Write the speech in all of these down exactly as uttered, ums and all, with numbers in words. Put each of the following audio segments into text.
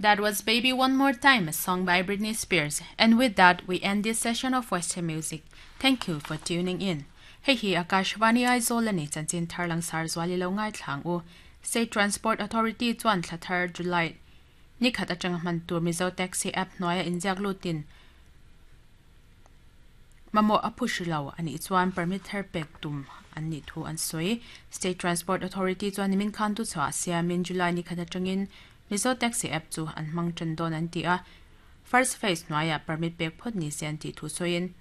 That was Baby One More Time, a song by Britney Spears. And with that, we end this session of Western Music. Thank you for tuning in. Hei hi Akashvani Aizawl ani chanchin tharlang sar zwali lo ngai thlang u. State Transport Authority chuan thlathar July nikhat atang man tur Mizo Taxi app noya injak lutin mamo apushilo ani chuan permit thar pek tum an ni thu an soi. State Transport Authority chuan nimin khan tu chwa siamin July nikhat atangin Mizo Taxi app chu an mang chan don an ti a. First phase noya permit pek phot ni sian ti thu soin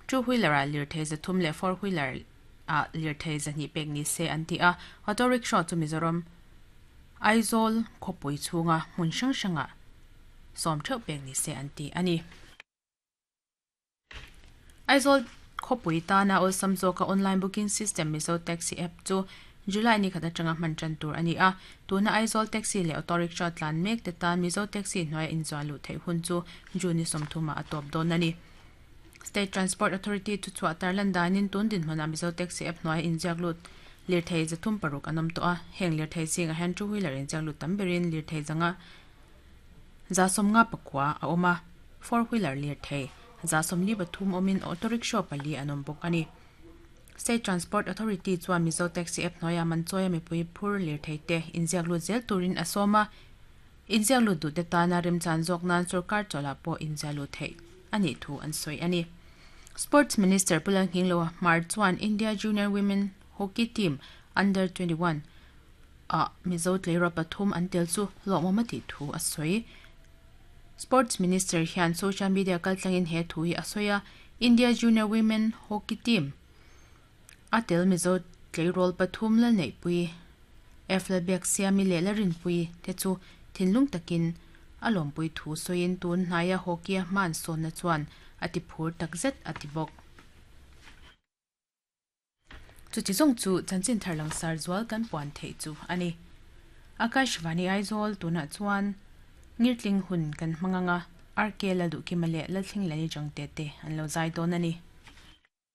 two wheeler a lir thei za thum le four wheeler a lir thei za ni pek ni se an ti a. Auto rickshaw chu Mizoram Aizawl khopui chunga hmun hrang hranga sawm theuh pek ni se an ti ani. Aizawl khopui tana awlsam zawka online booking system Mizo Taxi app chu July ni khat atanga hman tan tur ani a. Tuna Aizawl taxi le auto rickshaw tlan mek te tan Mizo Taxi hnuai inzuan lu thei hun chu June sawmthuma a tawp dawn ani. State Transport Authority chu chhuah tarlan danin tun din hmuna Mizo Taxi app hnuai inziak lut lir thei zathum paruk an awm tawh a. Heng lir thei zinga hian two wheeler inziak lut tam berin lir thei zanga za sawmnga pakua a awm a. Four wheeler lir thei za sawmli pathum awmin auto rickshaw pali an awm bawk ani. State Transport Authority chuan Mizo Taxi app hnuaia manchawi mipui phur lir thei te inziak lut zel turin a sawm a. Inziak lut duh te tana remchan zawk nan sarkar chawla pawh inziak lut thei ani thu an sawi ani. Sports Minister Pulang Hinglo Mar chuan India Junior Women Hockey Team Under twenty-one a Mizo tleiraw pathum an tel chu lawmawm ti thu a sawi. Sports Minister hian social media kaltlangin he thu hi a sawi a. India Junior Women Hockey Team a tel Mizo tleirawl pathum la nei pui Eflabek siami le la rin pui te chu thinlung takin a lawmpui thu sawiin tun hnaia hockey a hman sawn na chuan ati phur takzet ati bawk. Chu chi zawng chu chanchin tharlang sar zual kan puan thei chu ani. Akashvani Aizawl tuna chuan ngirtling hun kan hmanganga R K la du ki male la thling lani jang te te an lo zai dawn ani.